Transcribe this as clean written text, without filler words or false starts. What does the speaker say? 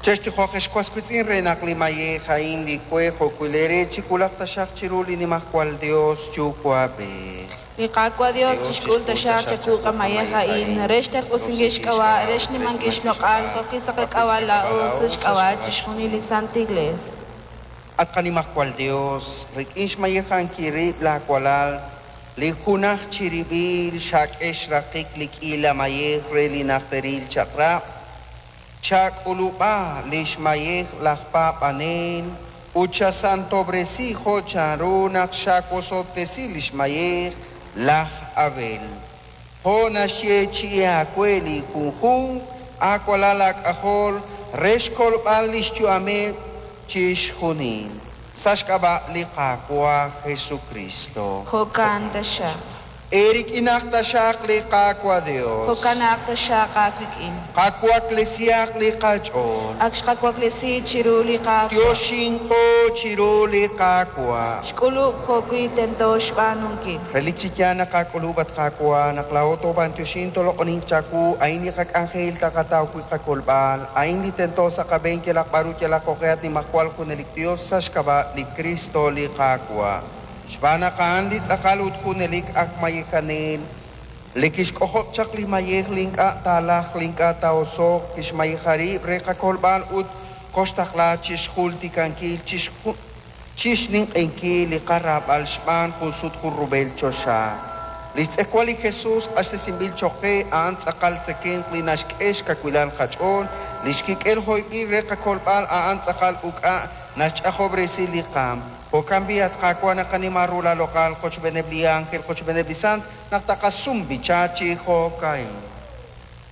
Chextijoq ex was wiitz'in re naq li mayej a'in li we jo'wi' leere chiwulaq taxaq chiru li Nimajwal Yos Yuwa'b'ej. Li Qaawa' Yos chixk'ul taxaq chawu qamayej a'in re xterq'usinkil xk'ab'a', re xnimankil xloq'al, jo'wi' sa' qak'ab'a' laa'o ut sa' xk'ab'a' chixjunil li Sant Iglees. At qaNimajwal Yos, rik'in xmayejankil rib' laawalal, li junaj chirib'il xak'e xraqik li k'iila mayej re li najteril chaq'rab', chak'ulub'a li xmayej laj paab'anel ut chasantob'resi jo' chanru naq xawosob'tesi li xmayej laj Abel. Jo' naxyeechi'i aawe li junjunq aawalal aak'ajol re xkolb'al li xyu'ameb' chixjunil. Sa' xk'ab'a' li Qaawa' Jesucristo. Jo'kan taxaq. Eerik'inaq taxaq li Qaawa' Dios. Jo'kanaq taxaq aawik'in. Qawaklesihaq li qach'ool. Ak xqawaklesi chiru li Qaawa'. Yoxinqo chiru li Qaawa'. Xk'ulub' jo'wi' tento xb'aanunkil. Relik chi yaal naq aak'ulub', at Qaawa', naq laa'o toob'antioxin toloq'oninq chawu, a'in li qak'anjel taqataw wi' qakolb'al, a'in li tento sa' qab'een yalaq b'ar ut yalaq jo'q'e at Nimajwal Junelik Dios sa' xk'ab'a' li Kristo li Qaawa'. Xb'aan naq a'an li tz'aqal ut junelik aj mayejanel, li kixk'ojob' chaq li mayej li ink'a' taalajq li ink'a' taa'oso'q, kixmayeja rib' re qakolb'al ut koxtaqla chixjultikankil chixninq'ehinkil li qaraab'al xb'aan jun sut jun rub'el choxa. Li xtz'ejwal li Jesus q'axtesinb'il cho'q qe a'an tz'aqal tzekemq li naxk'e xkawilal qach'ool, li xkik'el hoyb'il re qakolb'al a'an tz'aqal uk'a' naxch'ajob'resi li qaam. Jo'kan b'i' at Qaawa' naqanima ru laaloq'al qochb'eeneb' li ánjel qochb'eeneb' li sant naq taqasum b'icha chi jo'ka'in.